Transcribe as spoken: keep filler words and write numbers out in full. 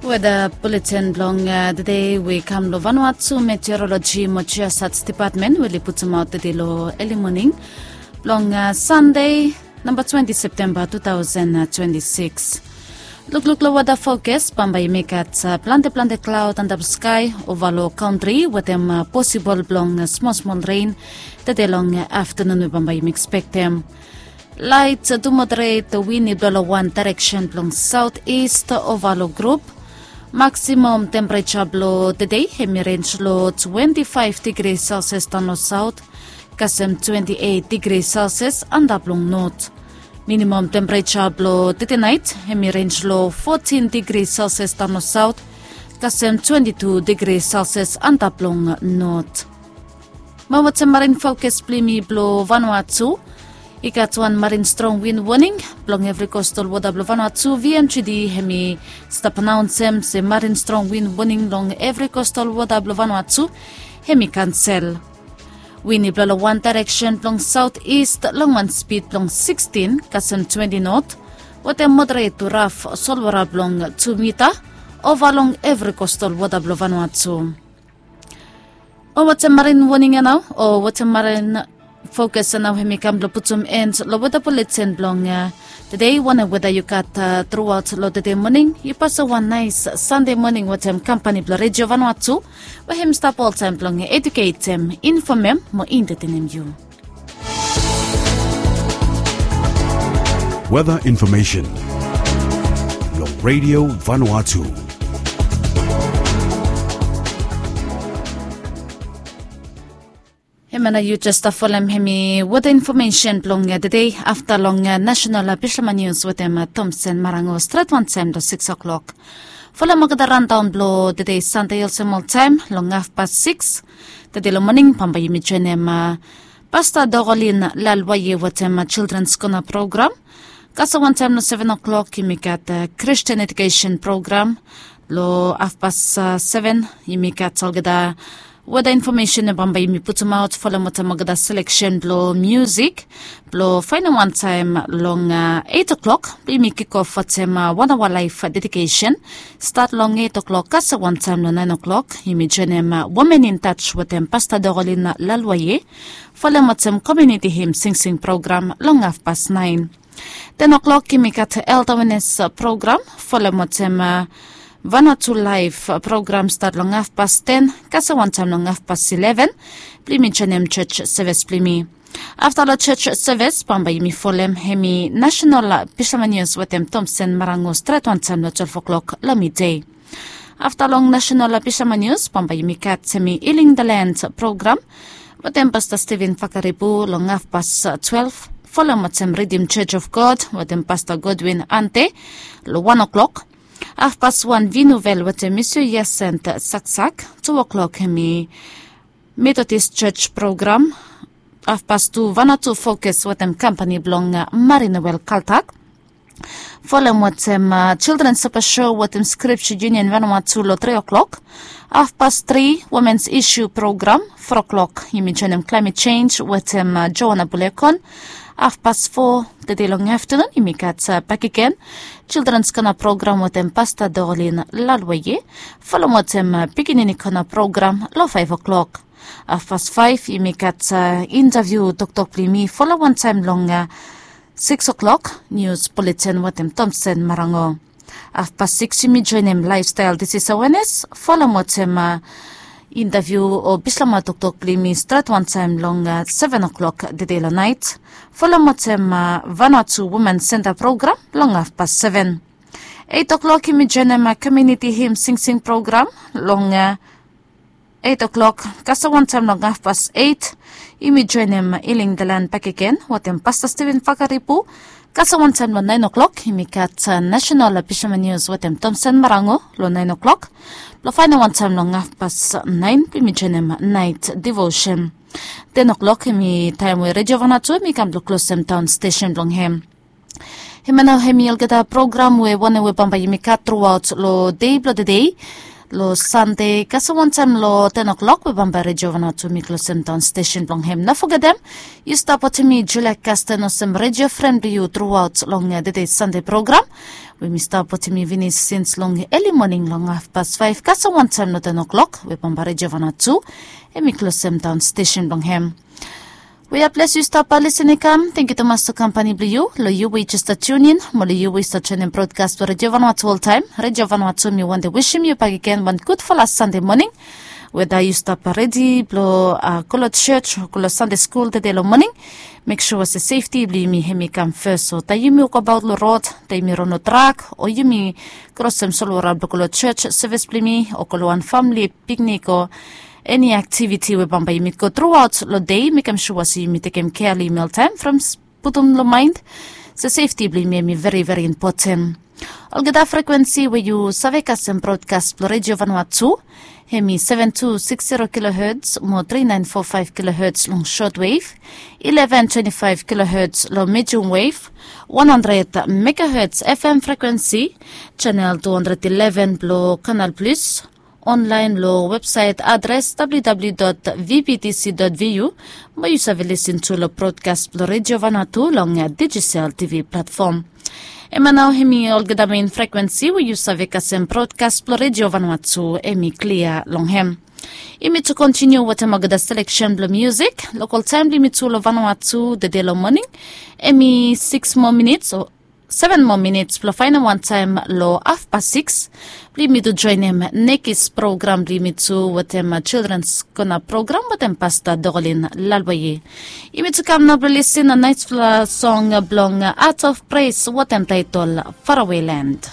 Weda buletin blong tede we kam long Vanuatu Meteorologi mo Geosats Depatmen we oli putumaot tede long eli moning blong Sande namba twenti Septemba tu taosen twenti sikis. Lukluk long weda fokas, bambae yumi gat plante plante klaod antap skae ova long kantri wetem posibol blong smol smol ren tede long aftanun we bambae yumi ekspektem. Laet tu moderet win i blo long wan daereksen blong saot ist ova long grup. Maksimom tempereja blo tede hem i renj long twenti faef digri Celsius daon long saot kasem twenti eit digri Celsius antap long not. Minimom tempereja blo tede naet hem i renj long fotin digri Celsius daon long saot kasem twenti tu digri Celsius antap long not. Mo wetem marin fokas blo yumi blo Vanuatu, i gat wan marin strong win woning blong evri kostal wota blo Vanuatu. VMGD hem i stap anaonsem se marin strong win woning long evri kostal wota blo Vanuatu hem i kansel. Win i blo long wan daereksen blong saot ist long wan spid blong sikstin kasem twenti not wetem moderet tu raf solwota blong tu mita ova long evri kostal wota blo Vanuatu. O wetem marin woning ya nao, o wetem marin fokas ya nao hem i kam blo putum en long weda buletin blong tede. Wanem weda yu gat truaot long tede moning, yu pasem wan naes Sande moning wetem kampani blo Redio Vanuatu we hem i stap oltaem blong eduketem, infomem mo entetenem yu. Weda infomesen long Redio Vanuatu. Hemia nao yu jes stap folem hem i weda infomesen blong tede. Afta long nasenal Bislama Nius wetem Tomsen Marango stret wantaem long sikis oklok. Folem olgeta randaon blong tede Sande olsem oltaem long hafpas sikis tede long moning, bambae yumi joenem Pasta Dorolin Lalwaye wetem Childrens Kona program. Kasem wantaem long seven oklok yumi gat Kristin edukesen program. Long hafpas seven yumi gat olgeta weda infomesen we bambae yumi putumaot folem wetem olgeta seleksen blong miusik. Blong faenem wantaem long eit oklok blong yumi kikof wetem wan aoa laef dedikesen. Stat long eit oklok kasem wantaem long naen oklok yumi joenem Women in Touch wetem Pasta Dorolin Lalwaye folem wetem komiuniti him singsing program long hafpas naen. Ten oklok yumi gat Health Awareness program folem wetem Vanuatu Live program stat long hafpas ten kasem wantaem long hafpas ileven blong yumi joenem jos seves blong yumi. Afta long jos seves bambae yumi folem hem i nasenal Bislama Nius wetem Tomsen Marango stret wantaem long twelef oklok long midei. Afta long nasenal Bislama Nius bambae yumi gat hem i Healing the Land program wetem Pasta Steven Fakaribu long hafpas twelef folem wetem Ridim Jos of God wetem Pasta Godwin Ante long wan oklok. Hafpas wan Vinuvel wetem Misu Yasent Saksak. Tu oklok hem i Metodis Jos program. Hafpas tu Vanuatu Fokas wetem kampani blong Marinowel Kaltak folem wetem Childrens Sapa Sho wetem Skripja Yunion Vanuatu long tri oklok. Hafpas tri Womens Isu program. Fo oklok yumi joenem Klaemet Jenj wetem Joana Bulekon. Hafpas fo tede long aftanun yumi gat bakegen Childrens Kona program wetem Pasta Dorolin Lalwaye folem wetem Pikinini Kona program long faef oklok. Hafpas faef yumi gat intaviu toktok blong yumi folem wantaem long sikis oklok nius buletin wetem Tomsen Marango. Hafpas sikis yumi joenem Laefstael Disis Awenes folem wetem intaviu o Bislama toktok blong yumi stret wantaem long seven oklok tede long naet folem wetem Vanuatu Women Senta program long hafpas seven. Eit oklok yumi joenem komiuniti him singsing program long eit oklok kasem wantaem long hafpas eit yumi joenem Healing the Land bakegen wetem Pasta Steven Fakaribu. Kasem wantaem long naen oklok yumi gat nasenal Bislama Nius wetem Tomsen Marango long naen oklok. Blong faenem wantaem long hafpas naen blong yumi joenem naet divosen. Ten oklok hem i taem we Redio Vanuatu hem i kam blong klosem daon stesen blong hem. Hemia nao hem i olgeta program we wanem we bambae yumi gat truaot long dei blong tede. Lo Sande kasem wantaem lo ten o'clock we bambae Redio Vanuatu mi klosem daon stesen blong hem. No fogetem, yu stap wantem mi Julia Kasten olsem redio fren blong yu truaot long tede Sande program we mi stap wantem mi finis sins long eli moning long hafpas faef kasem wantaem lo ten o'clock we bambae Redio Vanuatu hemi klosem daon stesen blong hem. We aples yu stap lisin i kam, tengkiu tumas long kampani blong yu, long yu we yu jes stap tiunin mo long yu we yu stap joenem brodkas blong Redio Vanuatu oltaem. Redio Vanuatu mi wantem wisim yu bakegen wan gudfala Sande moning. Weda yu stap redi blong go long jos o go long Sande skul tede long moning, mek sua se sefti blong yumi hemi kam fes. So taem yumi wokabaot long rod, taem yumi ron long trak o yumi krosem solwara blong go long jos sevis blong yumi o go long wan famili piknik o eni aktiviti we bambae yumi go truaot long dei, mekem sua se yumi tekem kea long yumi oltaem from putum long maen se sefti blong yumi hemi veri veri impoten. Olgeta frekwensi we yu save kasem brodkas blong Redio Vanuatu, hemi seven two six zero kilohertz mo three nine four five kilohertz long shortwave, eleven twenty five kilohertz long medium wave, one hundred megahertz F M frekwensi, chanel two hundred eleven blong Canal Plus, onlaen long websaet adres W W W dot V B T C dot V U, mo yu save lisin tu long brodkas blong Redio Vanuatu long Digicel T V platfom. Hemia nao hemi olgeta mein frekwensi we yu save kasem brodkas blong Redio Vanuatu hemi klia long hem. Yumi tu kontiniu wetem olgeta seleksen blong miusik. Lokol taem blong yumi tu long Vanuatu tede long moning hemi sikis moa minits o seven moa minits blong faenem wantaem long hafpas sikis blong yumi tu joenem nekis program blong yumi tu wetem Childrens Kona program wetem Pasta Dorlin Lalwaye. Yumi tu kam nao blong lisin naesfala song blong Art of Praise wetem taetol Farawe Land.